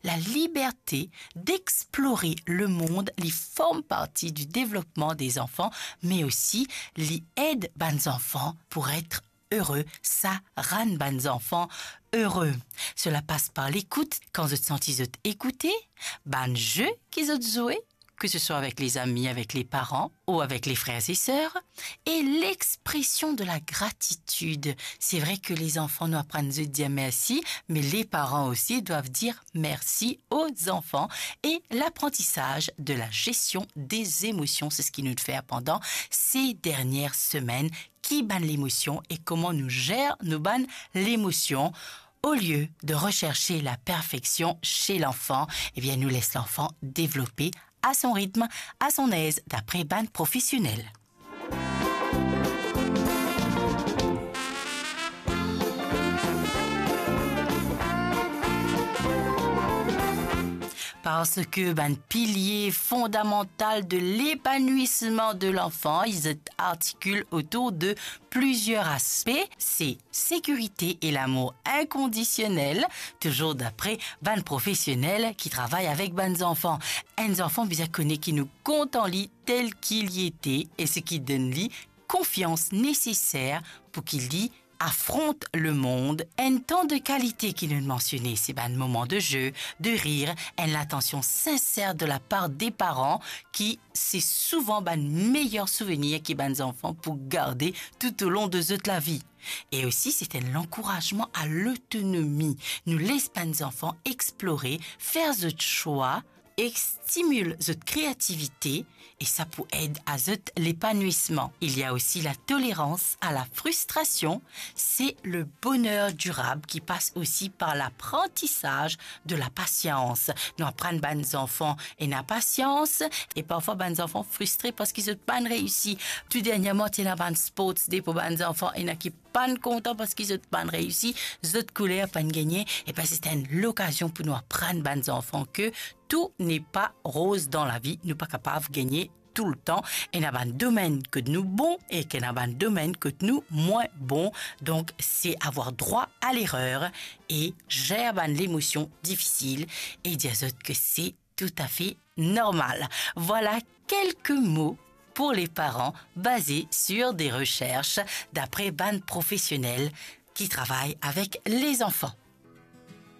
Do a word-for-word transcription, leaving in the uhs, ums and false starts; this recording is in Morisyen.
la liberte d'explorer le monde, li form parti du développement des enfants, me osi li ed bann zanfan pou et ere, sa rann bann zanfan ere. Sela pas par lekout, kan zot santi zot ekoute, bann ze ki zot zwe, ke se swa avek lezami, avek leparan ou avek lefrer e ser, e lexpresion de la gratitid. Se vre ke lezanfan, nou aprann zot dir mersi, me leparan osi dwav dir mersi o zanfan. E laprantisaz de la gestion des émotions, se seki nou fer pandan se dernie semenn, ki bann lemosion e kouma nou zer nou bann lemosion. Au lieu de rechercher la perfection chez l'enfant, ebien, nou les lanfan devlope a son ritm, a son ez, dapre bann profesionel. Parski bann pilie fondamantal de lepanwisman de lanfan, li artikil otour de plizier aspe, se sekirite e lamour inkondisionel, touzour dapre bann profesionel ki travay avek bann zanfan. Enn zanfan bizin kone ki nou kontan li tel ki li ete e seki donn li konfians neseser pou ki li afront lemond. Enn tan de kalite ki nou mansione, se bann moman de ze, de rir, enn latansion sinser de lapar de paran, ki se souvan bann meyer souvenir ki bann zanfan pou garde toutolon de zot lavi. E osi, se enn lankourazman a lotonomi. Nou les bann zanfan explore, fer zot swa, e stimil zot kreativite, e sa pou ed a zot lepanwisman. Il y a aussi la tolérance à la frustration, c'est le bonheur durable qui passe aussi par l'apprentissage de la patience. Nou aprann bann zanfan ena pasians, e parfwa bann zanfan fristre parski zot pa'nn reisi. Tou dernierman, ti ena bann sports day pou bann zanfan, ena ki pa'nn kontan parski zot pa'nn reisi, zot kouler pa'nn gagne. Ebin, se enn lokazion pou nou aprann bann zanfan ke tout n'est pas rose dans la vie, nou pa kapav gagne toultan. Ena bann domenn kot nou bon e ena bann domenn kot nou mwin bon. Donk, se avoir droit à l'erreur e zer bann lemosion difisil e dir zot ke se toutafe normal. Vwala kelke mo pou leparan, baze sur de resers dapre bann profesionel ki travay avek lezanfan.